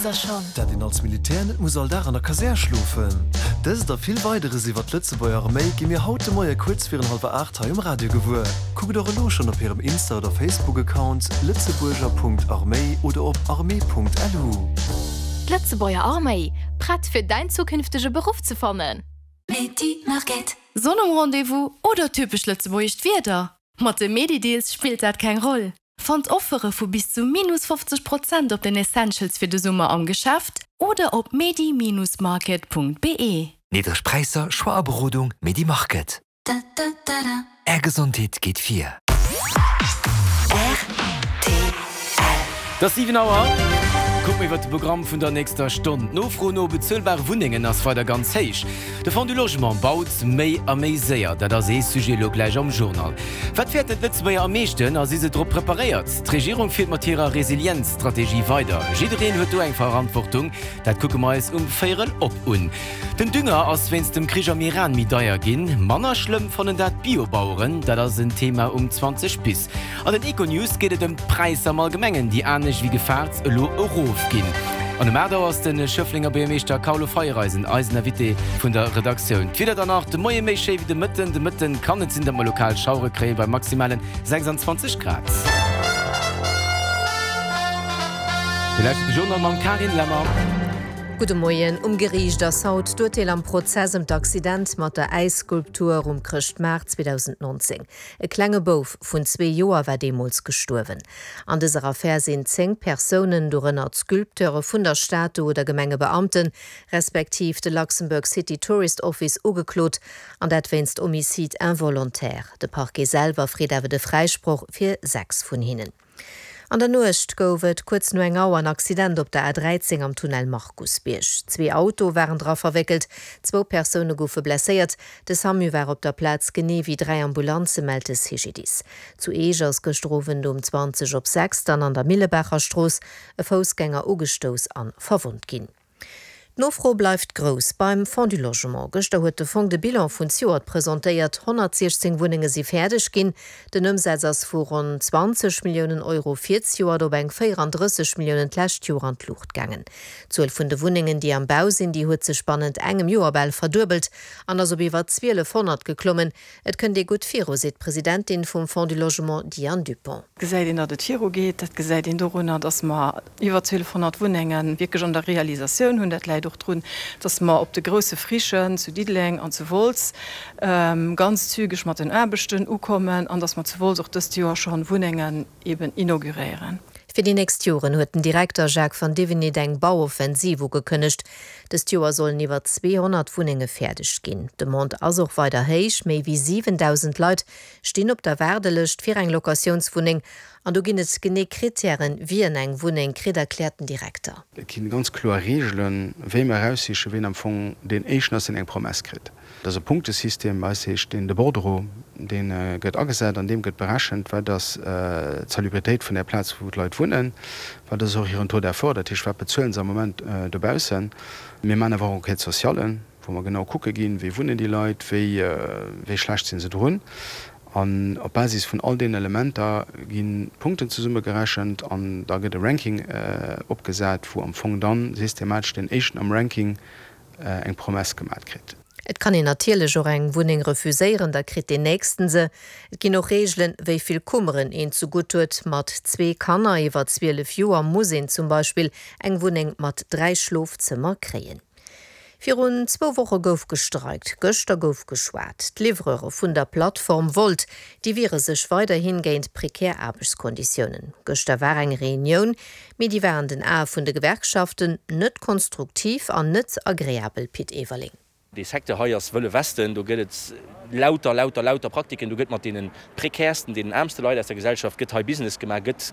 Wosst der schonn? Dat een als Militär net muss all Dag an der Kasär schlofen? Dëst a vill Weideres iwwer d'Lëtzebuerger Arméi gi mir haut de Moie kuerz virun hallwer 8 hei um Radio gewuer. Kuckt och elo schonn op hirem Insta oder Facebook-Account lëtzebuerger.arméi oder op armee.lu. D'Lëtzebuerger Arméi, prett fir däin zukünftege Beruff ze fannen? Sonn um Rendez-vous oder typesch lëtzebuergescht Wieder? Mat de Medi-Deals spillt dat keng Roll. Fannt Offere vu bis zu minus 50 Prozent op den Essentials fir de Summer am Geschäft oder op medi-market.be. Niddreg Präisser, Choix a Berodung, Medi Market. Är Gesondheet geet vir. Et ass 7 Auer. Kucke mir iwwer de Programm vun der nächster Stonn. D'Nofro no bezuelbare Wunnengen ass weider ganz héich. De Fonds du Logement baut méi a méi séier. Dat ass ee Sujet elo gläich am Journal. Wat fäerten d'Lëtzebuerger am meeschten a si se drop preparéiert? D'Regierung fiert mat hirer Resilienzstrategie weider. Jiddereen huet do eng Verantwortung. Dat kucke mer eis um Véierel op un. Den Dünger ass wéinst dem Krich am Iran méi deier ginn. Manner schlëmm fannen dat d'Biobaueren. Dat ass en Thema um 20 bis. An den Econews geet et ëm d'Präisser am Allgemengen, déi anescht wéi gefaart elo erof ginn. An um 8 Auer ass de Schëfflenger Buergermeeschter Carlo Feiereisen eisen Invité vun der Redaktioun. D'Wieder dann nach, de Moie méi schéi wéi de Mëtten. De Mëtten kann et sinn, datt mer lokal Schauere kréie bei maximalen 26 Grad. Dir lauschtert de Journal mam Carine Lemmer. Gudde Moien. Um Geriicht ass haut d'Urteel am Prozess ëm d'Accident mat der Äisskulptur um Chrëschtmaart 2019. E klenge Bouf vun zwee Joer war deemools gestuerwen. An dëser Affär sinn 10 Persounen, dorënner d'Sculpteure vun der Statu oder Gemengebeamten, respektiv de Luxembourg City Tourist Office ugeklot, an dat wéinst Homicide involontaire. De Parquet selwer freet awer de Fräisproch fir 6 vun hinnen. An der Nuecht gouf et kuerz no eng Auer en Accident op der A13 am Tunnel Markusbierg. Zwee Autoe waren dra verwéckelt, zwou Persoune goufe blesséiert. De Samu war op der Plaz, genee wéi 3 Ambulanze, mellt de CGDIS. Zu Eech ass gëschter Owend um 20 op 6 dann an der Millebaacherstrooss e Foussgänger ugestouss an verwonnt ginn. D'Nofro bleift grouss beim Fonds du Logement. Gëschter huet de Fong de Bilan vun zejoert presentéiert. 116 Wunnenge si fäerdeg ginn. Den Ëmsaz ass vu ronn 20 Milliounen Euro fir zejoert op eng 34 Milliounen d'lescht Joer an d'Luucht gaangen. D'Zuel vun de Wunnengen, déi am Bau sinn, déi huet sech bannent engem Joer bal verduebelt an ass op iwwer 1.200 geklommen. Et kënnt ee gutt viru, seet d'Presidentin vum Fonds du Logement Diane Dupong. Gesäit een, datt et virugeet. Dat gesäit een dorunner, datt mer iwwer 1.200 Wunnenge wierklech an der Realisatioun hunn. Dat läit och drun, datt mer op de grousse Frichen zu Diddeleng an zu Wolz ganz zügeg mat den Aarbechten ukommen an datt mer zu Wolz och dëst Joer scho Wunnengen eben inauguréieren. Fir déi nächst Joren huet den Direkter Jacques van Divenit eng Bauoffensiv ugekënnegt. Dëst Joer sollen iwwer 200 Wunnenge fäerdeg ginn. D'Demande ass och weider héich, méi wéi 7.000 Leit stinn op der Waardelëscht fir eng Locatiounswunneng. An do ginn et genee Krittären, wien eng Wunneng kritt, erkläert den Direkter. Et ginn ganz kloer Reegelen, wéi mer eraussichen, wien am Fong deen Éischten ass, deen eng Promesse kritt. Dat ass e Punktesystem, bei eis heescht deen de Bordereau, dee gëtt agesat, an deem gëtt berechent, wat ass d'Salubritéit vun där Plaz, wou d'Leit wunnen, wat ass och hiren Taux d'effort, dat heescht, wat bezuelen se am Moment dobaussen. Mir maachen awer och Enquêtes-sociallen, wou mer genau kucke ginn, wéi wunnen déi Leit, wéi wéi schlecht si se drun. An op Basis vun all deenen Elementer ginn d'Punkten zesummegerechent an da gëtt e Ranking opgesat, wou am Fong dann systematesch deen Éischten am Ranking eng Promesse gemat kritt. Et kann een natierlech och eng Wunneng refuséieren, da kritt deen nächsten se. Et ginn och Reegelen, wéi vill Kummeren een ze gutt huet. Mat zwee Kanner iwwer 12 Joer muss een zum Beispill eng Wunneng mat 3 Schlofzëmmer kréien. Virun zwou Woche gouf gestreikt, gëschter gouf geschwat. D'Livreure vun der Plattform Wolt, déi wiere sech weiderhi géint prekär Aarbechtskonditiounen. Gëschter war eng Reunioun, Mee déi war an den Ae vun de Gewerkschaften net konstruktiv an net agreabel, Pit Everling. Dee Secteur hei ass wëlle Westen, do gëtt et lauter, lauter, lauter Praktiken, do gëtt mat deene prekäersten, deenen aarmste Leit aus der Gesellschaft gëtt hei Business gemaach, gëtt.